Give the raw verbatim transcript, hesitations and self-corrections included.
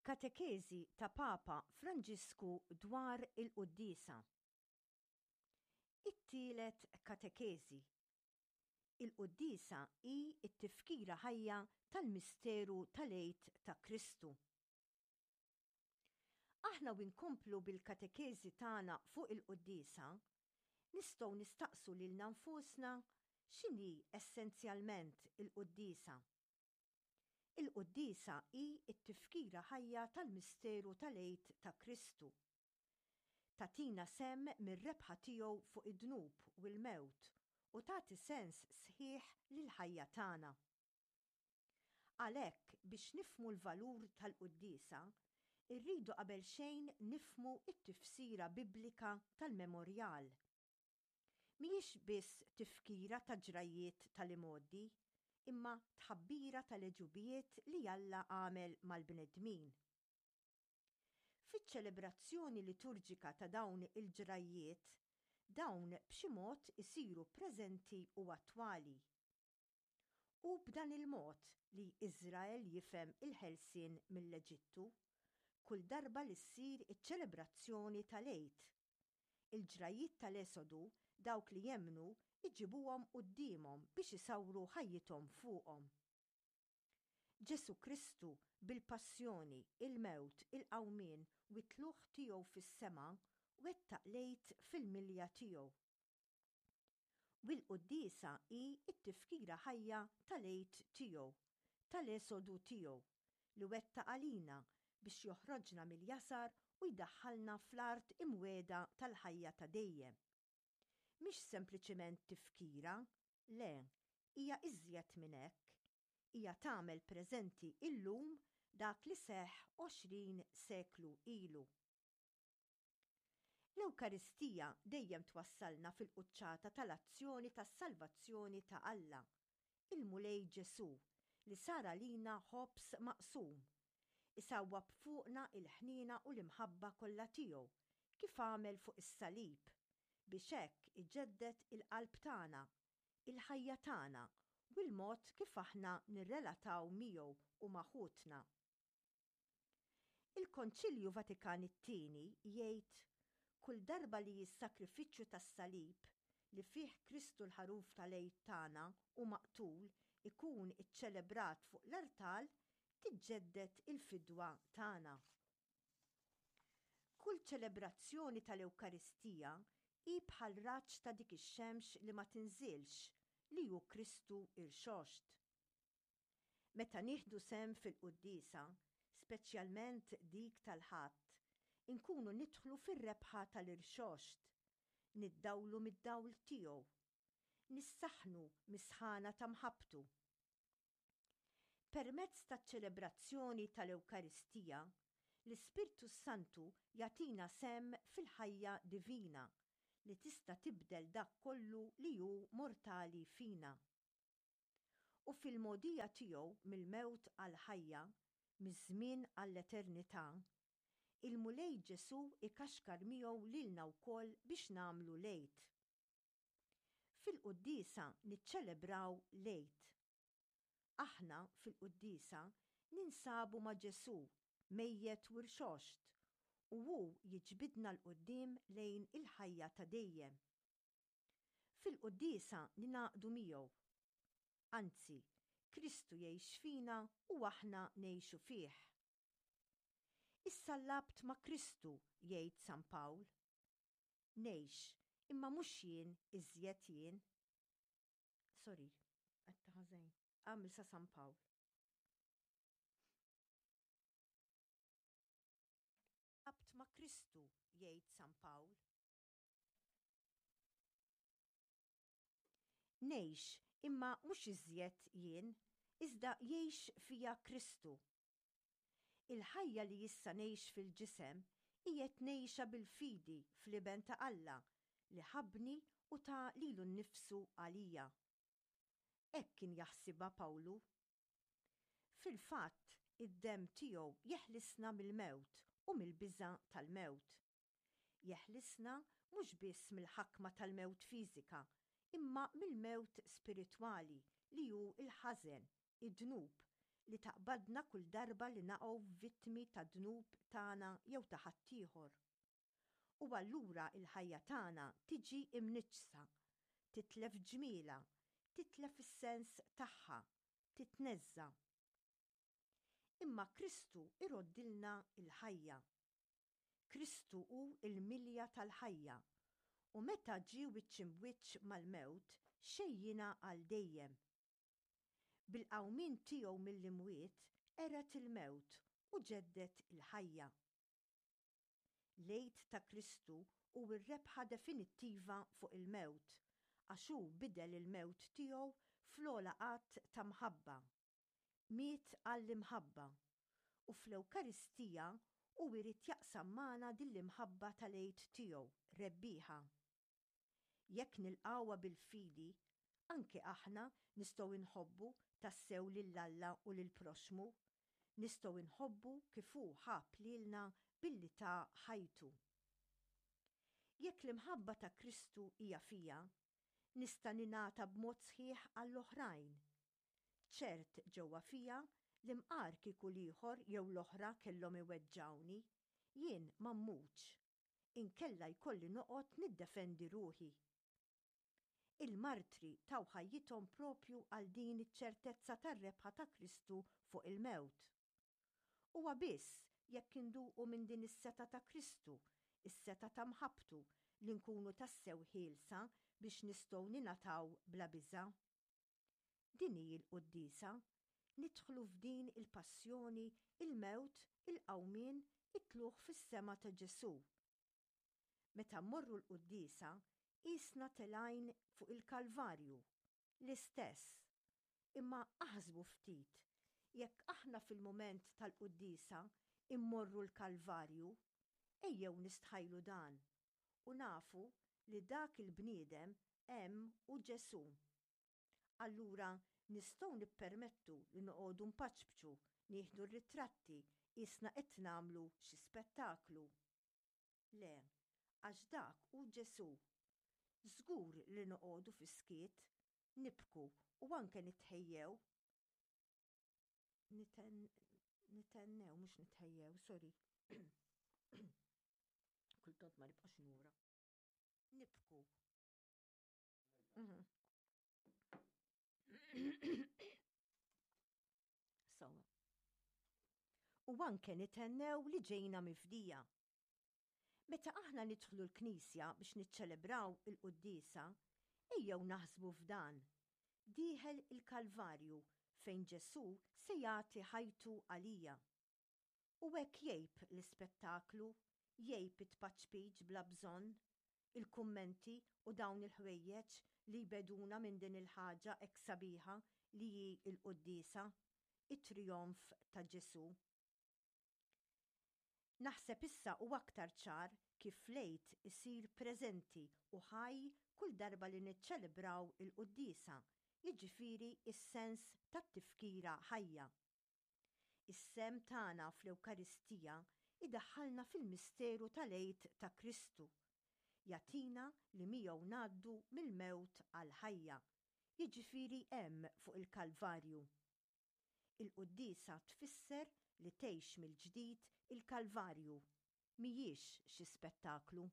Katekeżi ta' Papa Franġisku dwar il-Quddiesa. It-tielet katekeżi. Il-Quddiesa hi t-tifkira ħajja tal-misteru tal-Għid ta' Kristu. Aħna u nkomplu bil-katekeżi tagħna fuq il-Quddiesa, nistgħu nistaqsu lilna nfusna x'inhi essenzjalment il-Quddiesa. Il-Quddiesa hi t-tifkira ħajja tal-misteru tal-Għid ta' Kristu. Tagħtina sehem mir-rebħa tiegħu fuq id-dnub u l-mewt u tagħti sens sħiħ lill-ħajja tagħna. Għalhekk, biex nifhmu l-valur tal-Quddiesa, irridu qabel xejn nifhmu t-tifsira biblika tal-memorjal. Mhijiex biss tifkira ta' ġrajjiet tal-imgħoddi, imma tħabbira tal-għeġubijiet li Alla għamel mal-bnedmin. Fiċ-ċelebrazzjoni liturġika ta' dawn il-ġrajjiet, dawn b'xi mod isiru preżenti u attwali. Hu b'dan il-mod li Iżrael jifhem il-ħelsien mill-Eġittu, kull darba li ssir iċ-ċelebrazzjoni tal-Għid. Il-ġrajjiet tal-Esodu dawk li jemmnu jġibuhom quddiemhom biex isawru ħajjithom fuqhom. Ġesù Kristu bil-passjoni, il-mewt, il-qawmien u t-tlugħ tiegħu fis-sema wettaq l-Għid fil-milja tiegħu. U l-Quddiesa hi t-tifkira ħajja tal-Għid tiegħu, tal-Esodu tiegħu, li wettaq għalina biex joħroġna mill-jasar u jdaħħalna fl-art imwiegħda tal-ħajja ta' dejjem. Mhix sempliċement tifkira, le, hija iżjed minn hekk. Hija tagħmel preżenti illum dak li seħħ għoxrin seklu ilu. L-Ewkaristija dejjem twassalna fil-quċċata tal-azzjoni tas-salvazzjoni ta' Alla, il-Mulej Ġesù, li sar għalina ħobż maqsum, isawwab fuqna l-ħniena u l-imħabba kollha tiegħu kif għamel fuq is-salib, biex hekk iġedded il-qalb tagħna, il-ħajja tagħna u l-mod kif aħna nirrelataw miegħu u ma' ħutna. Il-Konċilju Vatikan it-Tieni jgħid, kull darba li s-sakrifiċċju tas-salib li fih Kristu l-ħaruf tal-Għid tagħna hu maqtul ikun iċċelebrat fuq l-artal, tiġġedded il-fidwa tagħna. Kull ċelebrazzjoni tal-Ewkaristija hi bħal raġġ ta' dik ix-xemx li ma tinżilx, li hu Kristu irxoxt. Meta nieħdu sehem fil-quddiesa, speċjalment dik tal-Ħadd, inkunu nidħlu fir-rebħa tal-irxoxt, niddawlu mid-dawl tiegħu, nissaħħnu mis-sħana ta' mħabbtu. Permezz taċ-ċelebrazzjoni tal-Ewkaristija, l-Ispirtu s-Santu jagħtina sehem fil-ħajja divina li tista' tibdel dak kollu li hu mortali fina. U fil-mogħdija tiegħu mill-mewt għall-ħajja, miż-żmien għall-eternità, il-Mulej Ġesù ikaxkar miegħu lilna wkoll biex nagħmlu l-Għid. Fil-quddiesa niċċelebraw l-Għid. Aħna fil-quddiesa ninsabu ma' Ġesù mejjet u rxoxt, u hu jiġbidna 'l quddiem lejn il-ħajja ta' dejjem. Fil-quddiesa ningħaqdu miegħu. Anzi, Kristu jgħix fina u aħna ngħixu fih. Issallabt ma' Kristu, jgħid San Pawl. Ngħix, imma mhux jien iżjed jien. Sorry, għedtha ħażin. Għamil sa San Pawl. Issallabt ma' Kristu, jgħid San Pawl. Ngħix, imma mhux iżjed jien, iżda jgħix fija Kristu. Il-ħajja li issa ngħix fil-ġisem, qiegħed ngħixha bil-fidi fl-Iben ta' Alla li ħabbni u ta lilu nnifsu għalija. Hekk kien jaħsibha Pawlu. Fil-fatt, id-demm tiegħu jeħlisna mill-mewt u mill-biża' tal-mewt. Jeħlisna mhux biss mill-ħakma tal-mewt fiżika, imma mill-mewt spiritwali li hu l-ħażen, id-dnub, li taqbadna kull darba li naqgħu vittmi tad-dnub tagħna jew ta' ħaddieħor. U allura l-ħajja tagħna tiġi imniġġsa, titlef ġmielha, titlef is-sens tagħha, titneżża'. Imma Kristu iroddilna l-ħajja. Kristu hu l-milja tal-ħajja u meta ġie wiċċ imbwiċċ mal-mewt xejjinha għal dejjem. Bil-qawmien tiegħu mill-imwiet qered il-mewt u ġedded il-ħajja. L-Għid ta' Kristu hu r-rebħa definittiva fuq il-mewt għax hu bidel il-mewt tiegħu fl-ogħla att ta' mħabba. Miet għall-imħabba u fl-Ewkaristija hu jrid jaqsam magħna din l-imħabba tal-Għid tiegħu rebbieħa. Jekk nilqgħuha bil-fidi, anke aħna nistgħu nħobbu tassew lil Alla u lill-proxxmu, nistgħu nħobbu kif hu ħabb lilna billi ta ħajtu. Jekk l-imħabba ta' Kristu hija fija, nista' ningħata b'mod sħiħ għall-oħrajn. Ċert ġewwa fija li mqar kieku l-ieħor jew l-oħra kellhom iweġġgħuni, jien ma mmutx, inkella jkolli noqgħod niddefendi ruħi. Il-martri taw ħajjithom propju għal din iċ-ċertezza tar-rebħa ta' Kristu fuq il-mewt. Huwa biss jekk induqu minn din is-setgħa ta' Kristu, is-setgħa ta' mħabbtu, li nkunu tassew ħielsa biex nistgħu ningħataw bla biża'. Din hi l-quddiesa, nidħlu f'din il-passjoni, il-mewt, il-qawmien, it-tlugħ fis-sema ta' Ġesù. Meta mmorru l-quddiesa, qisna telgħin fuq il-Kalvarju, l-istess. Imma aħsbu ftit, jekk aħna fil-mument tal-quddiesa immorru l-Kalvarju, ejjew nistħajlu dan u nafu li dak il-bniedem hemm hu Ġesù. Allura nistgħu nippermettu li noqogħdu npaċpċu, nieħdu r-ritratti qisna qed nagħmlu xi spettaklu. Le, għax dak hu Ġesù. Żgur li noqogħdu fis-skiet, nibku u anke nitħejjew. Niten, nitennew, mhux nitħejjew, sorry. Kultant ma nibqax nura. Nibku. Mhm. Sawa. U anke nitennew li ġejna mifdija. Meta aħna nidħlu l-knisja biex niċċelebraw il-quddiesa, ejjew naħsbu f'dan. Dieħel il-Kalvarju fejn Ġesù se jagħti ħajtu għalija. U hekk jgħib l-ispettaklu, jgħib it-tpaċpiċ bla bżonn, il-kummenti u dawn il-ħwejjeġ li jbegħduna minn din il-ħaġa hekk sabiħa li hi l-quddiesa, it-trijonf ta' Ġesù. Naħseb issa hu aktar ċar kif l-Għid isir preżenti u ħaj kull darba li niċċelebraw il-quddiesa, jiġifieri s-sens tat-tifkira ħajja. Is-sehem tagħna fl-Ewkaristija jdaħħalna fil-misteru tal-Għid ta' Kristu. Jagħtina li miegħu ngħaddu mill-mewt għall-ħajja, jiġifieri hemm fuq il-Kalvarju. Il-quddiesa tfisser li tgħix mill-ġdid il-Kalvarju, mhijiex xi spettaklu.